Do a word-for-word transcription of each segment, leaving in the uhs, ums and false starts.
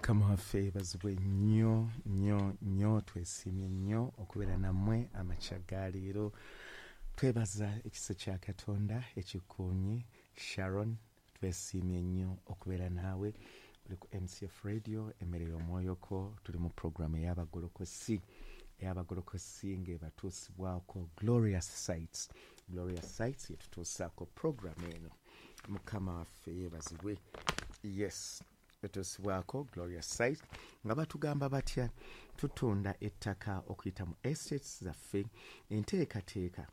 Mukama waffe yeebazibwe nnyo nnyo nnyo. Twesiimye nnyo okubeera nammwe amakya ga leero. Twebaza ekisa kya Katonda ekikuumye. Sharon, twesiimye nnyo okubeera naawe. Oli ku M C F Radio, Emmere y'Omwoyoko. Tuli mu programu ey'Abagolokosi, ey'Abagolokosi ng'ebatuusibwako Glorious Sites. Glorious Sites yetutuusaako programu eno. Mukama waffe yeebazibwe. Yes, etuusibwako Glorious Site nga batugamba batya? Tutunda ettaka okuyita mu estates zaffe, enteekateeka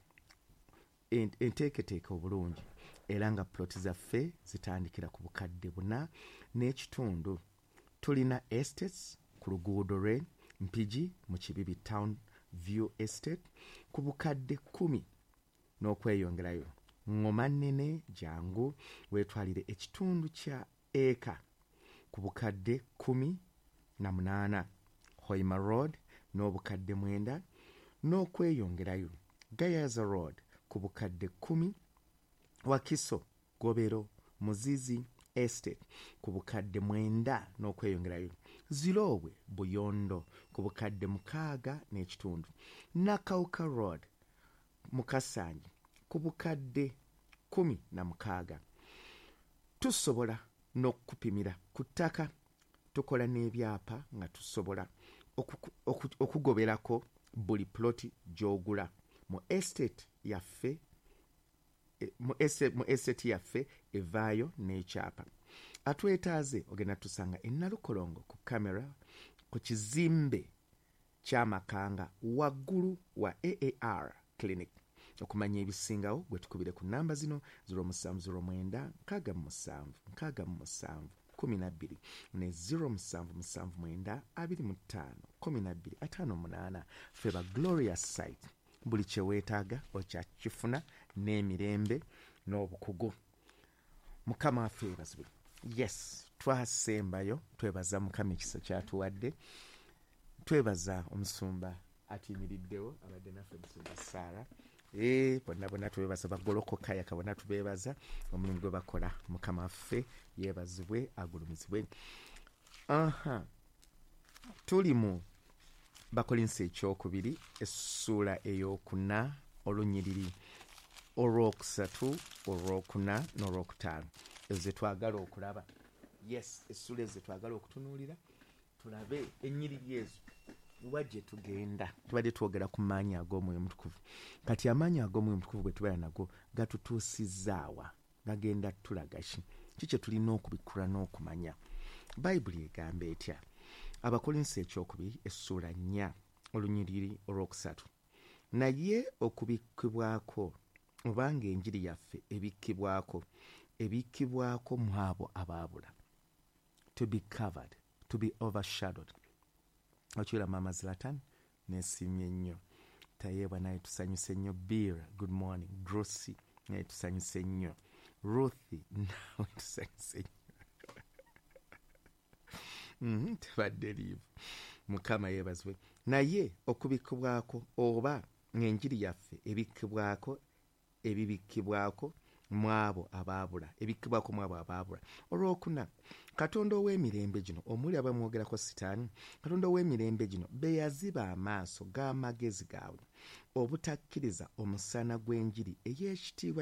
enteeketeeka obulungi, era nga ploti zaffe zitandikira ku bukadde buna n'ekitundu. Tulina estates ku luguudo lwe Mpigi mu Kibibi, Town View Estate, ku bukadde kkumi n'okweyongerayo. Ŋŋoma nnene, jangu weetwalire ekitundu kya eka ku bukadde kkumi na munaana. Hoima Road n'obukadde mwenda n'okweyongerayo. Gayaza Road ku bukadde kkumi. Wakiso Gobero Muzizi Estate ku bukadde mwenda n'okweyongerayo. Ziroobwe Buyondo ku bukadde mukaaga n'ekitundu. Nakawuka Road Mukasangi ku bukadde kkumi na mukaaga. Tusobola n'okupimira ku ttaka. Tukola n'ebyapa nga tusobola okugoberako buli ploti gy'ogula mu estate yaffe. Mu estate yaffe evaayo n'ekyapa. Atwetaaze ogenda tusanga eNalukolongo ku kamera ku kizimbe ky'Amakanga, waggulu wa A A R Clinic. Okumanya ebisingawo, gwe tukubire ku namba zino: zero seven zero nine six seven six seven twelve ne zero seven seven nine twenty-five twelve fifty-eight. Ffe ba Glorious Site, buli kyeweetaaga okyakifuna n'emirembe n'obukugu. Mukama waffe yeebazibwe. Yes, twasembayo. Twebaza Mukama ekisa kyatuwadde. Twebaza omusumba atuyimiriddewo, abadde naffe, Musumba Saara. Eh, bonna bonna tubebaza, bagolokoka yaka bonna tubebaza omulimu gwe bakola. Mukama waffe yeebazibwe, agulumizibwe. Aha, tuli mu Bakolinsi ekyokubiri, essuula eyokuna, olunyiriri olwokusatu, olwokuna n'olwokutaano. Ezo zetwagala okulaba. Yes, essuula ezo zetwagala okutunuulira, tulabe ennyiriri ezo wa gye tugenda. Tubadde twogera ku maanyi ag'Omwoyo Omutukuvu. Kati amaanyi ag'Omwoyo Omutukuvu bwe tubeera nago, gatutuusizaawa? Gagenda tulaga ki? Ki kye tulina okubikkula n'okumanya? Bayibuli egamba etya? Abakolinsi ekyokubiri, essuula nnya, olunyiriri olwokusatu: "Naye okubikkibwako, obanga enjiri yaffe ebikkibwako, ebikkibwako mu abo abaabula." To be covered, to be overshadowed. Okiwula Mama Zlatan, nesiimye nnyo. Tayeebwa naye tusanyuse nnyo. Bir, good morning. Grossy naye tusanyuse nnyo. Ruth, nawe tusanyuse nnyo. Mhm, tebadde liivu. Mukama yeebazibwe. "Naye okubikkibwako, oba ng'enjiri yaffe ebikkibwako, ebibikkibwako mu abo abaabula, ebikkibwako mu abo abaabula." Olwokuna: "Katonda ow'emirembe gino," omuli abamwogerako Sitaani, "Katonda ow'emirembe gino be yaziba amaaso g'amagezi gaabwe obutakkiriza omusana gw'enjiri ey'ekitiibwa."